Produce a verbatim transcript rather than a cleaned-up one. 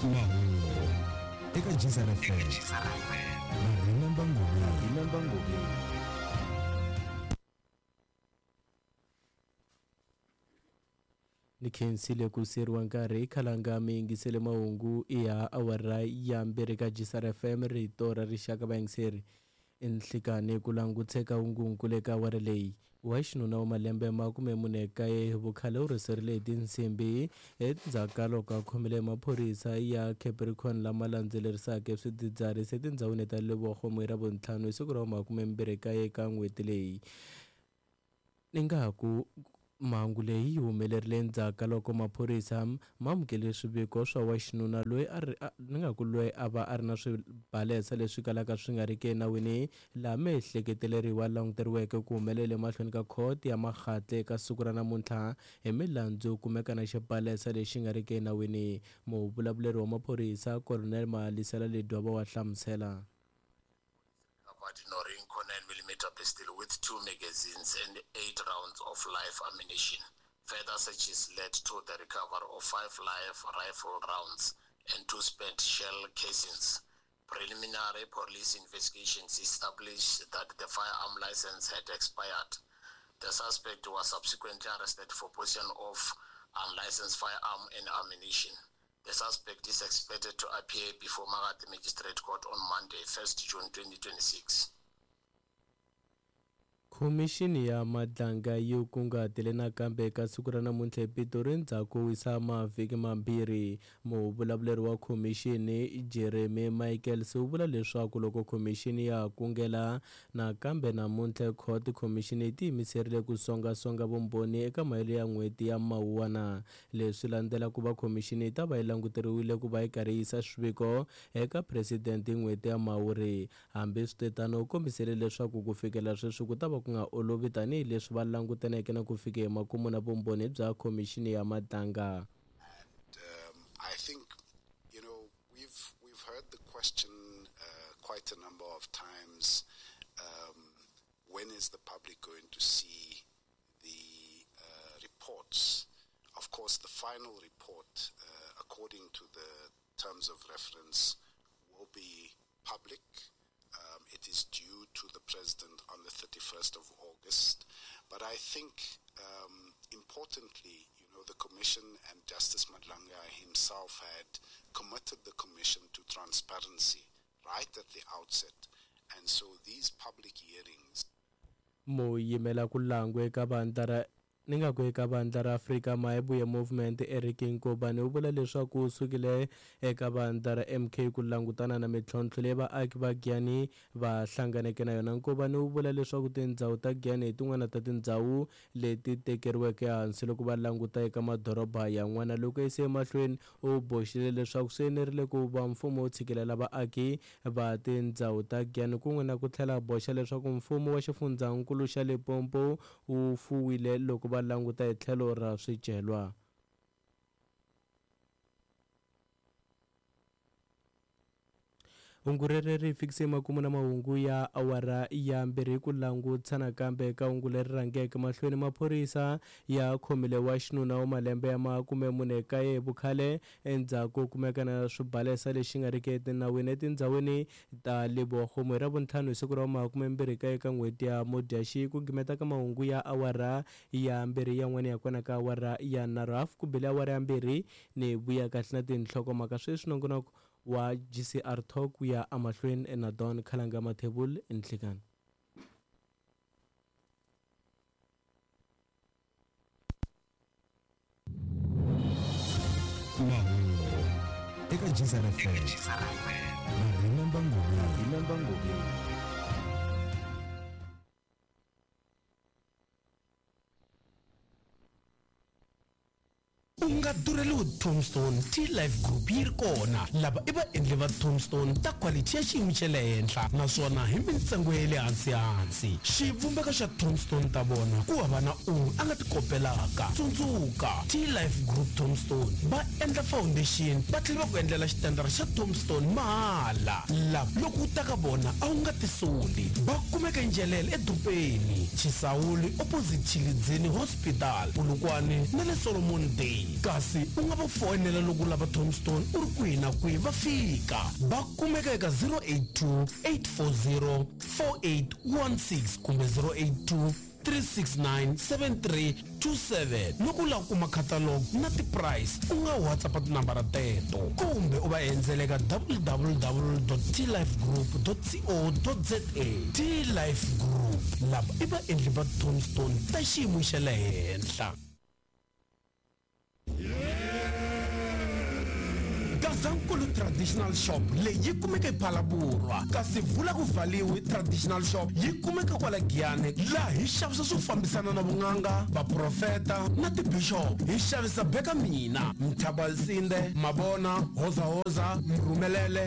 Mahungu eka G S R F M na Remember Ngobeni. Remember Ngobeni. Ni khensile ku seriwa nkarhi khalanga mi yingisele mahungu ya awara ya mbirhi ka G S R F M rito ra rixaka vayingiseri. Nhlikani ku languteka hungunkulu eka awara leyi wa xinuna wa malembe makume mune kaye vukhale u rheserile hi tinsimbi endzhaku ka loko a khomile maphorisa ya Capricorn lama landzelerisaka swidzidziharisi etindhawini ta Lebogo hi Ravuntlhanu hi siku ra makume mbirhi kaye ka n'hweti leyi. Ni nga ku mhangu leyi yi humelerile endzhaku ka loko maphorisa ma amukele swiviko swa wa xinuna loyi a ri ni nga ku loyi a va a ri na swibalesa leswi kalaka swi nga riki enawini laha miehleketeleriwa languteriweke ku humelela emahlweni ka khoto ya Makgatle eka siku ra namuntlha hi milandzu yo kumeka na xibalesa lexi nga riki enawini. Muvulavuleri wa maphorisa Colonel Malisela Ledwaba wa hlamusela. Norinco nine millimeter pistol with two magazines and eight rounds of live ammunition. Further searches led to the recovery of five live rifle rounds and two spent shell casings. Preliminary police investigations established that the firearm license had expired. The suspect was subsequently arrested for possession of unlicensed firearm and ammunition. The suspect is expected to appear before Magathi Magistrate Court on Monday, first June twenty twenty-six. Khomixini ya Madlanga yi kunguhatile nakambe eka siku ra namuntlha ePitori endzhaku wisa mavhiki mambirhi. Muvulavuleri wa khomixini Jeremy Michaels u vula leswaku loko khomixini ya kungela nakambe namuntlha court khomixini yi tiyimiserile ku songasonga vumbhoni eka mahelo ya n'hweti ya Mawuwana. Leswi landzela ku va khomixini yi ta va yi languteriwile ku va yi karhi yisa swiviko eka president hi n'hweti ya Mhawuri. Hambiswiritano u kombisile leswaku ku fikela sweswi ku ta va ku nga olovi tanihileswi va langutaneke na ku fika emakumu na vumbhoni bya khomixini ya Madlanga. And um, I think, you know, we've we've heard the question uh, quite a number of times. Um, when is the public going to see the uh, reports? Of course, the final report, uh, according to the terms of reference, will be public. Um, it is due to the president on the thirty-first of August. But I think, um, importantly, you know, the Commission and Justice Madlanga himself had committed the Commission to transparency right at the outset. And so these public hearings... Muyimela ku langwe eka vandla ra ni nga ku eka vandla ra Afrika Mayibuye Movement Eric Nkobane u vula leswaku u sukile eka vandla ra M K ku langutana na mintlhontlho leyi vaaki va Giyani va hlanganeke na yona. Nkobane u vula leswaku tindhawu ta Giyani hi tin'wana ta tindhawu leti tekeriweke ehansi loko va languta eka madoroba yan'wana. Loko yise emahlweni u boxile leswaku swi enerile ku va mfumo wu tshikelela vaaki va tindhawu ta Giyani kun'we na ku tlhela boxa leswaku mfumo wa xifundzankulu xa Limpopo wu fuwile loko va languta hi tlhelo ra swicelwa. Hungu reri ri fikise makumu na mahungu ya awara ya mbirhi ku langutisa nakambe eka hungu leri rhangeke mahlweni. Maphorisa ya khomile wa xinuna wa malembe ya makume mune kaye vukhale endzhaku kumeka na swibalesa lexi nga riki etinawini etindhawini ta Lebogo hi Ravuntlhanu hi siku ra makume mbirhi kaye ka n'hweti ya Mudyaxihi. Ku gimeta ka mahungu ya awara ya mbirhi yan'wana ya kona ka awara ya nharhu hafu ku bile awara ya mbirhi ni vuya kahle na tinhlokomhaka sweswi nongonoko wa G C R Talk ya amahlweni na Don Khalanga Mathebul nhlikani. Mahungu eka G S R F M na Remember Ngobeni. Remember Ngobeni. U nga durheliwi Tombstone T-Life Group yi ri kona. Lava i vaendli va Tombstone ta quality ya xiyimo xa le henhla naswona hi mintsengo ya le hansi hansi. Xivumbeko xa Tombstone ta vona ku hava na un'we a nga ti kopelaka. Tsundzuka T-Life Group Tombstone va endla foundation va tlhela va ku endlela xitandara xa Tombstone mahala. Lava loko u ta ka vona a wu nga tisoli. Va kumeka Njelele edorobeni, Chisawuli opposite Chilidzini Hospital, Polokwane na le Solomon Day. Kasi U nga va foyinela loko u lava tombstone u ri kwihi na kwihi va fika. Va kumeka eka zero eight two, eight four zero, four eight one six kumbe zero eight two, three six nine, seven three two seven. Loko u lava ku kuma catalog na ti-price, u nga WhatsApp tinambara teto kumbe u va endzela eka w w w dot t life group dot co dot z a. T Life Group, lava i vaendli va tombstone ta xiyimo xa le henhla. Gazankulu Traditional Shop leyi yi kumeka ePhalaborwa, kasi Vula ku Valiwe Traditional Shop yi kumeka kwala Giyani, laha hi xavisa swo fambisana na vun'anga, vaprofeta na tibishop. Hi xavisa Beka Mina, Mthabalsinde, Mabona, Hozahoza, Mrhumelele.